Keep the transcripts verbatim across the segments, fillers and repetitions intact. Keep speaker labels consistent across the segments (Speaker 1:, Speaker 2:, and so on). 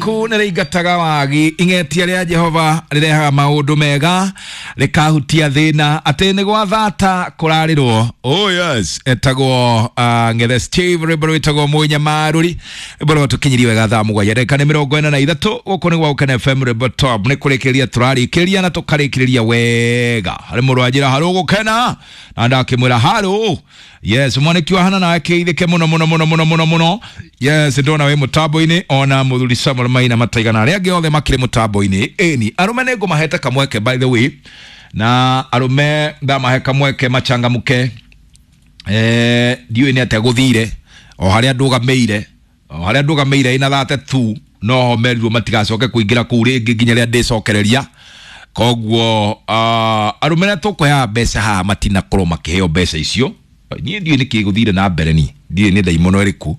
Speaker 1: Rĩaku nĩ rĩingataga wagi, ing'etia rĩa Jehova rĩrehaga maũndũ mega, rĩkahutia thĩna atĩ nĩ gwa thata kũrarĩrwo. Oh yes, etagwo uh, Ng'ethe Steve, rwĩmbo rwĩtagwo Mũnyamarũri, rwĩmbo rwatũkinyirie wega thaa mũgwanja ndagĩka nĩ mĩrongo ĩna na ithatũ. Gũkũ nĩ gwa Gũkena F M, rwĩmbo top nĩ kũrĩkĩrĩria tũrarĩkĩrĩria na tũkarĩkĩrĩria wega. Harĩ mũndũ wanjĩra harũ gũkena na ndakĩmwĩra harũ. Yes, mwaniki wa hana nawe kĩithĩke mũno mũno mũno mũno mũno mũno. Yes, ndona wĩ mũtambo-inĩ ona mũthuri Samuel Maina mataigana arĩa angĩ othe makĩrĩ mũtambo-inĩ. Ĩni arũme nĩ ngũmahete kamweke by the way, na arũme ndamahe kamweke machangamke. Eh, ndiũĩ nĩ atĩa gũthire o harĩa ndũgamĩire, o harĩa ndũgamĩire ina thate tu no ho merirwo matigacoke kũingĩra kũu rĩngĩ nginya rĩrĩa ndĩcokereria. Koguo uh, arũme arĩa tũkũheaga mbeca haha matinakorwo makĩheo mbeca icio. Niĩ ndiũĩ nĩkĩ gũthire na mbere, niĩ ndiũĩ nĩ ndaimono ĩrĩkũ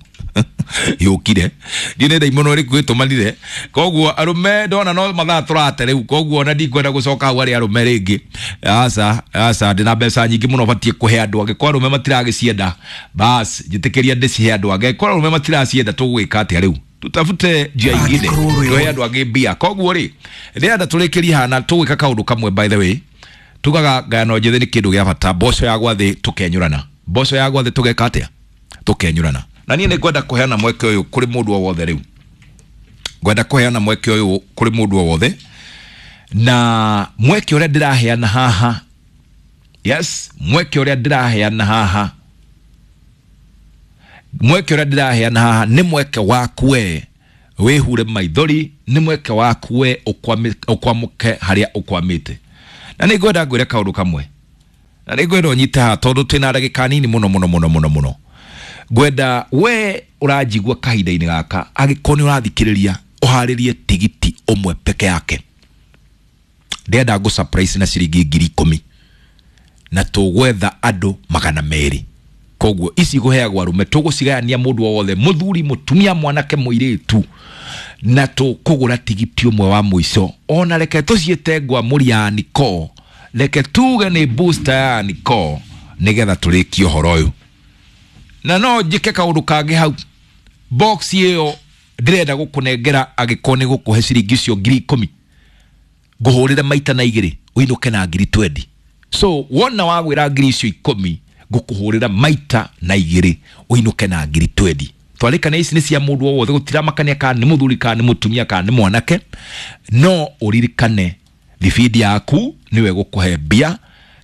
Speaker 1: yũkire, ndiũĩ nĩ ndaimono ĩrĩkũ ĩtũmanire. Koguo arũme ndona no mathaa tũrate rĩu, koguo ona ndikwenda gũcoka hau harĩ arũme rĩngĩ. Aca, aca, ndĩna mbeca nyingĩ mũno batiĩ kũhe andũ angĩ. Kwa arũme matiragĩcienda, bas njĩtĩkĩria ndĩcihe andũ angĩ. Kwa arũme matiracienda tũgwĩka atĩa rĩu? Tutafute njia ingine tuhe andũ angĩ mbia. Koguo rĩ, ndĩrenda tũrĩkĩrie haha na tũgwĩka kaũndũ kamwe by the way. Tugaga ngano njĩthĩ nĩ kĩndũ gĩa bata, mboco ya gwa thĩ tũkenyũrana, mboco ya gwa thĩ tũgeka atĩa? Tũkenyũrana. Na niĩ nĩ ngwenda kũheana mweke ũyũ kũrĩ mũndũ o wothe rĩu, ngwenda kũheana mweke ũyũ kũrĩ mũndũ o wothe, na mweke ũrĩa ndĩraheana haha, yes, mweke ũrĩa ndĩraheana haha, mweke ũrĩa ndĩraheana haha nĩ mweke waku we wĩhure maithori, nĩ mweke waku we ũkwamũke harĩa ũkwamĩte. Na nĩ ngwenda ngwĩre kaũndũ kamwe, na nĩ ngwenda ũnyite haha tondũ twĩna ndagĩka nini mũno mũno mũno mũno mũno. Ngwenda we ũranjigua kahinda-inĩ gaka, angĩkorwo nĩ ũrathikĩrĩria, ũharĩrie tigiti ũmwe peke yake. Ndĩrenda ngũ surprise na ciringi ngiri ikũmi, na tũgwetha andũ magana merĩ. Koguo ici ngũheagwo arũme, tũgũcigayania mũndũ o wothe, mũthuri, mũtumia, mwanake, mũirĩtu, na tũkũgũra tigiti ũmwe wa mũico. Ona reke tũciĩte ngwamũri ya Niko, reke tuge nĩ booster ya Niko, nĩgetha tũrĩkie ũhoro ũyũ. Na no njĩke kaũndũ kangĩ hau, box ĩyo ndĩrenda gũkũnengera angĩkorwo nĩ gũkũhe ciringi icio ngiri ikũmi, ngũhũrĩre maita na igĩrĩ ũinũke na ngiri twenty. So wona wagwĩra ngiri icio ikũmi, ngũkũhũrĩra maita na igĩrĩ ũinũke na ngiri twenty. Twarĩkana ici nĩ cia mũndũ o wothe, gũtiramakania kana nĩ mũthuri kana nĩ mũtumia kana nĩ mwanake. No ũririkane thibindi yaku nĩwe gũkũhe mbia,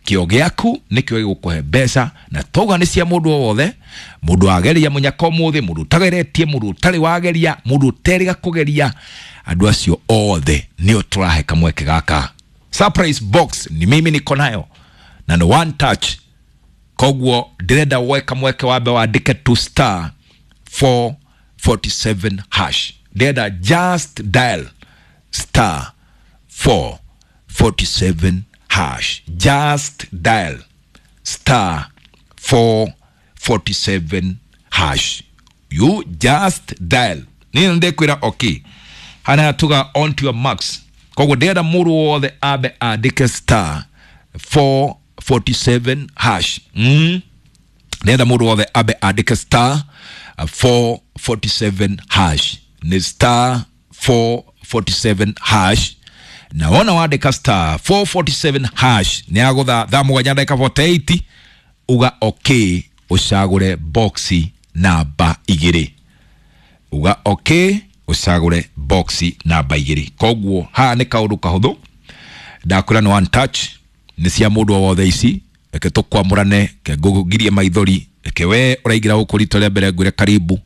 Speaker 1: kĩo gĩaku nĩkĩo gĩgũkũhe mbeca, na twauga nĩ cia mũndũ o wothe, mũndũ wageria mũnyaka ũmũthĩ, mũndũ ũtageretie, mũndũ ũtarĩ wageria, mũndũ ũterĩga kũgeria, andũ acio othe nĩo tũrahe kamweke gaka. Surprise box ni mimi niko nayo na no one touch. Koguo ndĩrenda woe kamweke wambe wandĩke two star four forty seven hash. Ndĩrenda just dial star four forty seven hash. Just dial star four forty seven hash. You just dial. Niĩ nĩndekwĩra okay. Hana tuga on to your marks. Koguo ndĩrenda mũndũ wothe ambe andĩke star four forty seven hash. Mm. Ndĩrenda mũndũ wothe ambe andĩke star four forty seven hash. Ni star four forty seven hash. Na wona wandĩka star four forty seven hash nĩ agũtha thaa mũgwanja ndagĩka forty eight, uga okay, ũcagũre boxi namba igĩrĩ. Uga okay, ũcagũre boxi namba igĩrĩ. Koguo haha nĩ kaũndũ kahũthũ, ndakwĩra nĩ one touch, nĩ cia mũndũ o wothe ici. Reke tũkwamũrane, reke ngũgirie maithori, reke we ũraingĩra gũkũ rita rĩa mbere ngwĩre karibu.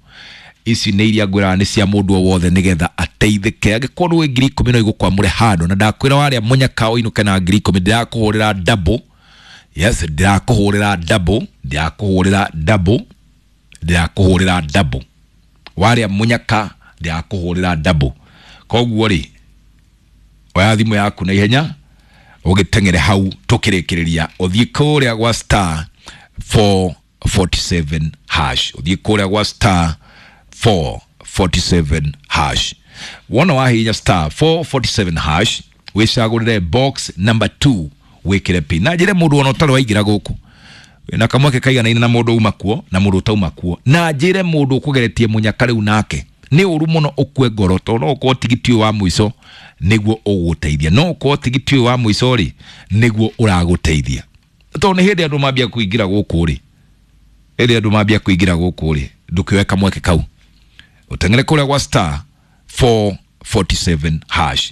Speaker 1: Ici nĩ iria ngwĩraga nĩ cia mũndũ o wothe nĩgetha ateithĩke. Angĩkorwo nĩ ngiri ikũmi no igũkwamũre handũ, na ndakwĩra warĩa mũnyaka ũinũke na ngiri ikũmi, ndĩrakũhũrĩra double. Yes, ndĩrakũhũrĩra double, ndĩrakũhũrĩra double, ndĩrakũhũrĩra double. Warĩa mũnyaka ndĩrakũhũrĩra double. Koguo rĩ, oya thimũ yaku na ihenya ũgĩteng'ere hau tũkĩrĩkĩrĩria, ũthiĩ kũrĩa gwa star four forty seven hash. Ũthiĩ kũrĩa gwa star four forty seven hash. Wona wahihinya star four forty seven hash, wĩcagũrĩre box number two, wĩkĩre pin. Na njĩre mũndũ ona ũtarĩ waingĩra gũkũ, na kamweke kaiganaine na mũndũ uma kuo na mũndũ ũtauma kuo, na njĩre mũndũ ũkũgeretie mũnyaka rĩu nake Nĩ ũru mũno ũkue ngoro tondũ no ũkorwo tigiti ũyũ wa mũico nĩguo ũgũgũteithia, no ũkorwo tigiti ũyũ wa mũico rĩ nĩguo ũragũteithia, tondũ nĩ hĩndĩ andũ mambia kũingĩra gũkũ rĩ, hĩndĩ andũ mambia kũingĩra gũkũ rĩ, ndũkĩoe kamweke kau ũteng'ere kũrĩa gwa star four forty-seven hash.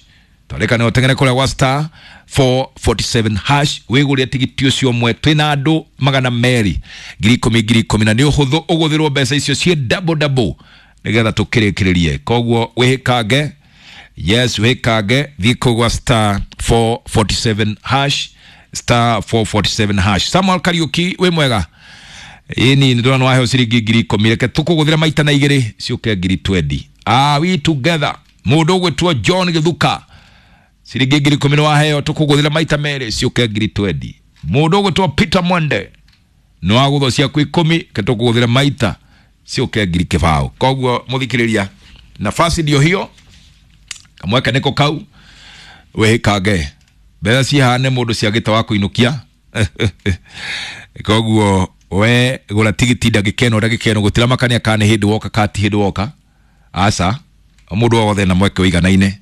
Speaker 1: Twarĩka nĩ ũteng'ere kũrĩa gwa star four forty-seven hash wĩgũrĩre tigiti ũcio ũmwe. Twĩna andũ magana merĩ ngiri ikũmi ngiri ikũmi, na nĩ ũhũthũ ũgũthĩrwo mbeca icio ciĩ double double nĩgetha tũkĩrĩkĩrĩrie. Koguo wĩhĩkange, yes, wĩhĩkange, thiĩ kũu gwa star four forty-seven hash, star four forty-seven hash. Samuel Kariuki, wĩ mwega? Ĩni nĩ ndĩrona waheo ciringi ngiri ikũmi, reke tũkũgũthĩra maita na igĩrĩ ciũke ngiri twenty. Are we together? Mũndũ ũgwĩtwo John Gĩthuka, ciringi ngiri ikũmi nĩ waheo, tũkũgũthĩra maita merĩ ciũke ngiri twenty. Mũndũ ũgwĩtwo Peter Mwende, nĩ wagũthwo ciaku ikũmi, reke tũkũgũthĩra maita ciũke ngiri kĩbaũ. Koguo mũthikĩrĩria, nafasi ndio hiyo, kamweke nĩko kau, wĩhĩkange mbeca cihane mũndũ ciagĩte wa kũinũkia. Koguo we gũra tigiti ndagĩka ĩno, ndagĩka ĩno gũtiramakania kana nĩ hĩndĩ woka kana ti hĩndĩ woka, aca, mũndũ wothe na mweke ũiganaine.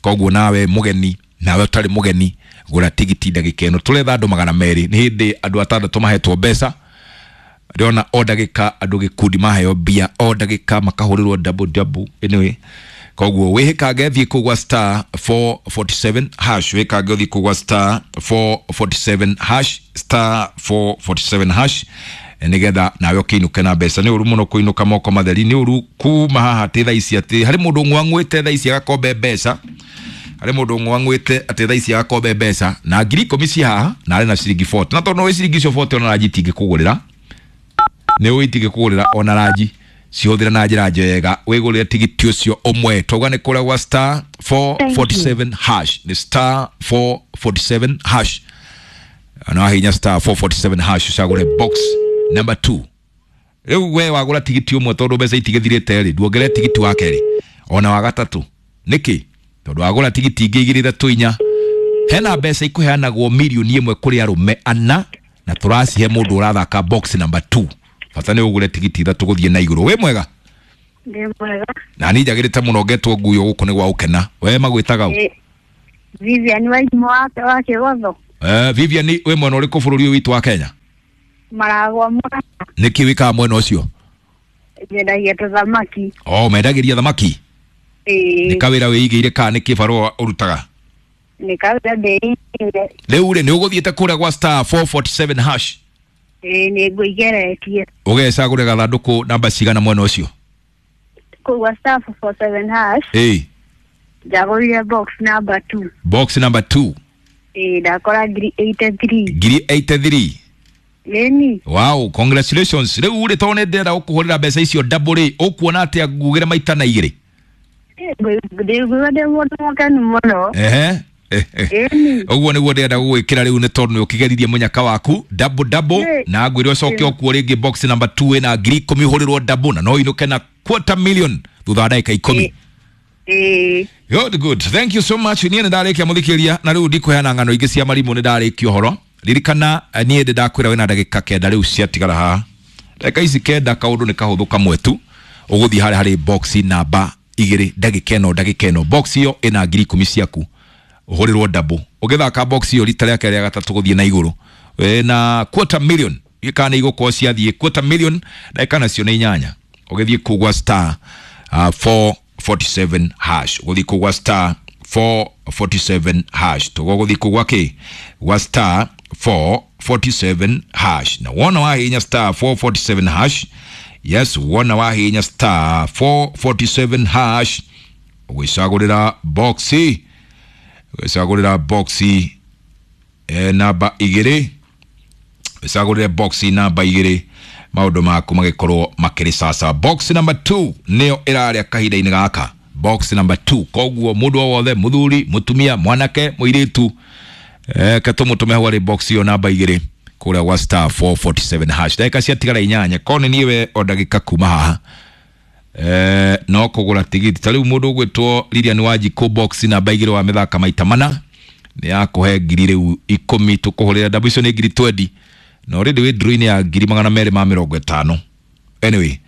Speaker 1: Koguo nawe mũgeni, nawe ũtarĩ mũgeni, gũra tigiti ndagĩka ĩno. Tũretha andũ magana merĩ, nĩ hĩndĩ andũ atandatũ mahetwo mbeca. Ndĩrona o ndagĩka andũ gĩkundi maheo mbia, o ndagĩka makahũrĩrwo double double. Anyway, koguo wĩhĩkange, thiĩ kũu gwa star four forty-seven hash, wĩhĩkange ũthiĩ kũu gwa star four forty-seven hash, star four forty-seven hash, nĩgetha nawe ũkĩinũke na mbeca. Nĩ ũru mũno kũinũka moko matheri, nĩ ũru kuma haha atĩ thaa ici atĩ harĩ mũndũ ng'wang'wĩte thaa ici agakombe mbeca, harĩ mũndũ ng'wang'wĩte atĩ thaa ici agakombe mbeca na ngiri ikũmi ci haha na arĩ na ciringi forty, na tondũ nĩ ciringi icio forty ona ranji itingĩkũgũrĩra, nĩ ũĩ itingĩkũgũrĩra ona ranji, cihũthĩre na njĩra njega, wĩgũrĩre tigiti ũcio ũmwe. Twauga nĩ kũrĩa gwa star four forty-seven hash, nĩ star four forty-seven hash, na wahihinya star four forty-seven hash ũcagũre box number two. Rĩu we wagũra tigiti ũmwe tondũ mbeca itigĩthirĩte rĩ, nduongerere tigiti wa kerĩ ona wa gatatũ. Nĩkĩ? Tondũ wagũra tigiti ingĩ igĩrĩ ithatũ inya, hena mbeca ikũheanagwo mirioni ĩmwe kũrĩ arũme ana, na tũracihe mũndũ ũrathaka box number two. Bata nĩ ũgũre tigiti ithatũ gũthiĩ na igũrũ. Wĩ mwega?
Speaker 2: Ndĩ mwega.
Speaker 1: Na niĩ njagĩrĩte mũno, ngetwo nguyo gũkũ nĩ gwa gũkena. We magwĩtaga ũ?
Speaker 2: Vivian Waimũ wa Kĩgotho.
Speaker 1: Eh, Vivian, wĩ mwena ũrĩkũ bũrũri ũyũ witũ wa Kenya?
Speaker 2: Maragwa Murang'a.
Speaker 1: Nĩkĩ wĩkaga mwena ũcio?
Speaker 2: Nyendagia tũthamaki.
Speaker 1: Oh, mendagĩria thamaki?
Speaker 2: Ĩĩ.
Speaker 1: Nĩ kawĩra wĩigĩire kana nĩ kĩbarũa ũrutaga?
Speaker 2: Nĩ kawĩra ndĩigĩire.
Speaker 1: Rĩu rĩ, nĩ ũgũthiĩte kũrĩa gwa star four forty-seven hash?
Speaker 2: Ĩĩ, nĩ ngũigeretie.
Speaker 1: Ũgecagũre gathandũkũ namba cigana mwena ũcio?
Speaker 2: Kũu gwa star four forty-seven hash.
Speaker 1: Ĩĩ.
Speaker 2: Njagũrire box number two.
Speaker 1: Box number two.
Speaker 2: Ĩĩ, ndakora ngiri eighty-three.
Speaker 1: Ngiri eighty-three.
Speaker 2: Ĩni.
Speaker 1: Wow, congratulations. Rĩu rĩ, tondũ nĩ ndĩrenda gũkũhũrĩra mbeca icio double rĩ, ũkuona atĩa ngugĩre maita na igĩrĩ?
Speaker 2: Ndĩguo ndĩ mũndũ mũkenu mũno.
Speaker 1: Ehe.
Speaker 2: Ĩni.
Speaker 1: Ũguo nĩguo ndĩrenda gũgwĩkĩra rĩu, nĩ tondũ nĩ ũkĩgeririe mũnyaka waku double double, na ngwĩre ũcoke ũkuo rĩngĩ box number two ĩna ngiri ikũmi ũhũrĩrwo double, na no ũinũke na quarter million thutha wa ndagĩka ikũmi.
Speaker 2: Ĩĩ.
Speaker 1: Good, good. Thank you so much. Niĩ nĩ ndarĩkia mũthikĩrĩria, na rĩu ndikũheana ng'ano ingĩ cia marimũ, nĩ ndarĩkia ũhoro. Ririkana niĩ ndĩ ndakwĩra wĩna ndagĩka kenda rĩu ciatigara haha. Ndagĩka ici kenda kaũndũ nĩ kahũthũ kamwe tu, ũgũthiĩ harĩa harĩ box namba igĩrĩ ndagĩka ĩno, ndagĩka ĩno. Box ĩyo ĩna ngiri ikũmi ciaku, ũhũrĩrwo double. Ũgĩthaka box ĩyo rita rĩa kerĩ rĩa gatatũ gũthiĩ na igũrũ, wĩna quarter million, kana nĩ igũkorwo ciathiĩ quarter million, ndagĩka nacio nĩ inyanya. Ũgĩthiĩ kũu gwa star four forty-seven hash, ũgũthiĩ kũu gwa star four forty-seven hash, tũgũthiĩ gũthiĩ kũu gwa kĩ? Gwa star four forty-seven hash. Na wona wahihinya star four forty-seven hash, yes, wona wahihinya star four forty-seven hash, ũgwĩcagũrĩra box, ũgwĩcagũrĩra box eh, namba igĩrĩ, ũgwĩcagũrĩre box namba igĩrĩ, maũndũ maku magĩkorwo makĩrĩ sasa. Box number two nĩyo ĩrarĩa kahinda-inĩ gaka, box number two. Koguo mũndũ o wothe, mũthuri, mũtumia, mwanake, mũirĩtu, eh, katũmũtũme hau harĩ box ĩyo namba igĩrĩ kũrĩa gwa star four forty-seven hash. Ndagĩka ciatigara inyanya, korwo nĩ niĩ we o ndagĩka kuma haha, eh, no kũgũra tigiti. Ta rĩu mũndũ ũgwĩtwo Lilian Wanjikũ, box namba igĩrĩ wa mĩthaka maita mana, nĩ yakũhe ngiri rĩu ikũmi, tũkũhũrĩra double icio nĩ ngiri twenty, na already wĩ draw-inĩ ya ngiri magana merĩ ma mĩrongo ĩtano. Anyway,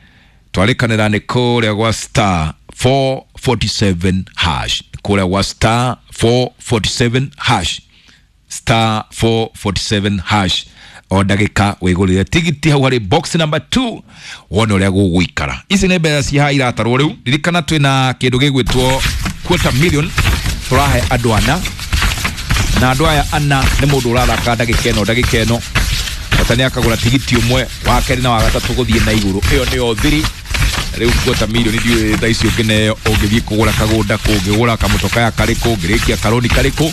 Speaker 1: twarĩkanĩra nĩ kũrĩa gwa star four forty-seven hash, kũrĩa gwa star four forty-seven hash, star four forty-seven hash. O ndagĩka wĩgũrĩre tigiti hau harĩ box number two wone ũrĩa gũgũikara. Ici nĩ mbeca ci haha iratarwo rĩu. Ririkana twĩna kĩndũ gĩgwĩtwo quarter million tũrahe andũ ana, na andũ aya ana nĩ mũndũ ũrathaka ndagĩka ĩno ndagĩka ĩno bata nĩ akagũra tigiti ũmwe, wa kerĩ na wa gatatũ gũthiĩ na igũrũ. Ĩyo nĩyo thiri. Rĩu quarter million ndiũĩ thaa ici ũngĩneo ũngĩthiĩ kũgũra kagũnda kũ, ũngĩgũra kamũtoka karĩkũ, ũngĩrĩkia karũni karĩkũ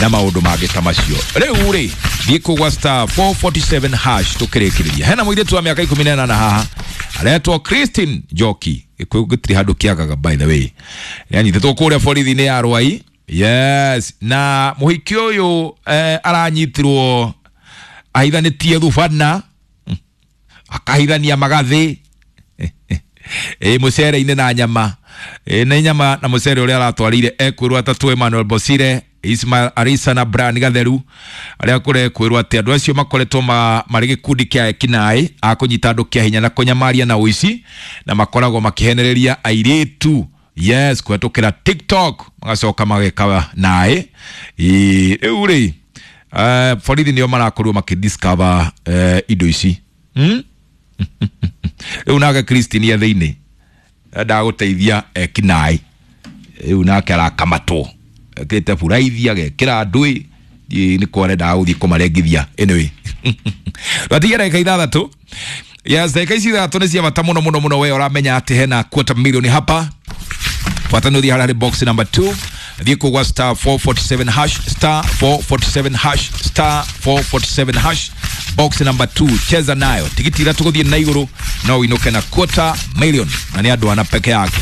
Speaker 1: na maũndũ mangĩ ta macio. Rĩu rĩ thiĩ kũgwa star four forty-seven hash tũkĩrĩkĩrĩria. Hena mũirĩtu wa mĩaka ikũmi na ĩnana haha aretwo Christine Njoki. Gĩkũyũ gĩtirĩ handũ kĩagaga by the way. Nĩanyitĩtwo kũrĩa borithi-inĩ ya Rwai. Yes, na mũhiki ũyũ eh, aranyitirwo ahithanĩtie thubana, akahithania magathĩ ĩ mũcere-inĩ na nyama, ĩ nĩ nyama na mũcere ũrĩa aratwarire ekwĩrwo atatũ Emmanuel Bosire, Ismail Arisa na Brian Gatheru, arĩa kũrekwĩrwo atĩ andũ acio makoretwo ma, marĩ gĩkundi kĩa ekinaĩ a kũnyita andũ kĩa hinya na kũnyamaria na ũici, na makoragwo makĩhenereria airĩtu, yes, kũhetũkĩra TikTok magacoka mageka naĩ. Rĩu rĩ uh, borithi nĩo marakorirwo makĩdiscover uh, indo ici, hmm? Rĩu nake Christine e thĩinĩ endaga gũteithia ekinaĩ, rĩu nake arakamatwo ekĩrĩte buraithi agekĩra ndũĩ, nĩ kwa arendaga gũthiĩ kũmarengithia. Anyway, twatigia ndagĩka ithathatũ. Yes, ndagĩka ici ithathatũ nĩ cia bata mũno mũno mũno. We ũramenya atĩ hena quarter million hapa, bata nĩ ũthiĩ harĩa harĩ box number two, thiĩ kũgwa star four forty-seven hash, star four forty-seven hash, star four forty-seven hash, box number two, cheza nayo tigiti ithatũ gũthiĩ na igũrũ no ũinũke na quarter million, na nĩ andũ ana peke yake.